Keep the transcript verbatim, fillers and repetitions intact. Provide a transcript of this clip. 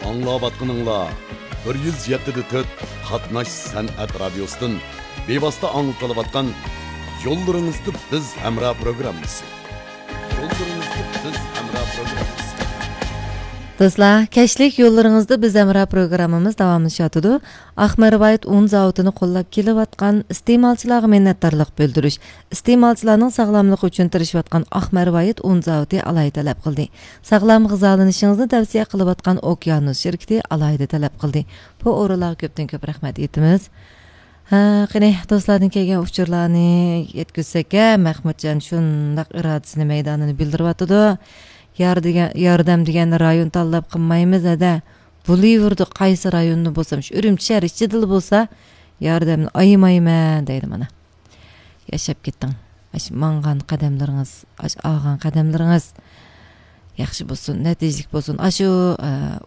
ئاڭلاۋاتقىنىڭلار بىر يۈز يەتتە دە تۆت قاتناش سەنئەت رادىيوسىدىن بىۋاسىتە ئاڭلىتىلىۋاتقان يوللىرىڭىزدا بىز ھەمراھ پروگراممىسى. يوللىرىڭىزدا بىز ھەمراھ پروگراممىسى. دوستلار، كەچلىك يوللىرىڭىزدا بىز ھەمراھ پروگراممىمىز داۋاملىشىۋاتىدۇ. ئاق مەرۋايىت ئۇن زاۋۇتىنى قوللاپ كېلىۋاتقان ئىستېمالچىلارغا مىننەتدارلىق بىلدۈرۈش، ئىستېمالچىلارنىڭ ساغلاملىقى ئۈچۈن تىرىشىۋاتقان ئاق مەرۋايىت ئۇن زاۋۇتى ئالاھىدە تەلەپ قىلدى. ساغلام غىزالىنىشىڭىزنى تەۋسىيە قىلىۋاتقان ئوكيانۇس شىركىتى ئالاھىدە تەلەپ قىلدى. بۇ ئورۇنلارغا كۆپتىن كۆپ رەھمەت ئېيتىمىز. ھە، قېنى، دوستلاردىن كەلگەن ئۇچۇرلارنى يەتكۈزسەككە، مەخمۇتجان شۇنداق ئىرادىسىنى مەيدانىنى بىلدۈرۈۋاتىدۇ. يار دېگەن، ياردەم دېگەن رايون تاللاپ قىلمايمىز، ھەدە. بولۇۋېرىدۇ، قايسى رايوندا بولسام، شۇ ئۈرۈمچى شەھەر ئىچىدىلا بولسا، ياردەمنى ئايىمايمەن دەيدۇ مانا. ياشاپ كېتىڭ. ئاشۇ ماڭغان قەدەملىرىڭىز، ئاشۇ ئالغان قەدەملىرىڭىز ياخشى بولسۇن، نەتىجىلىك بولسۇن. ئاشۇ، ئە،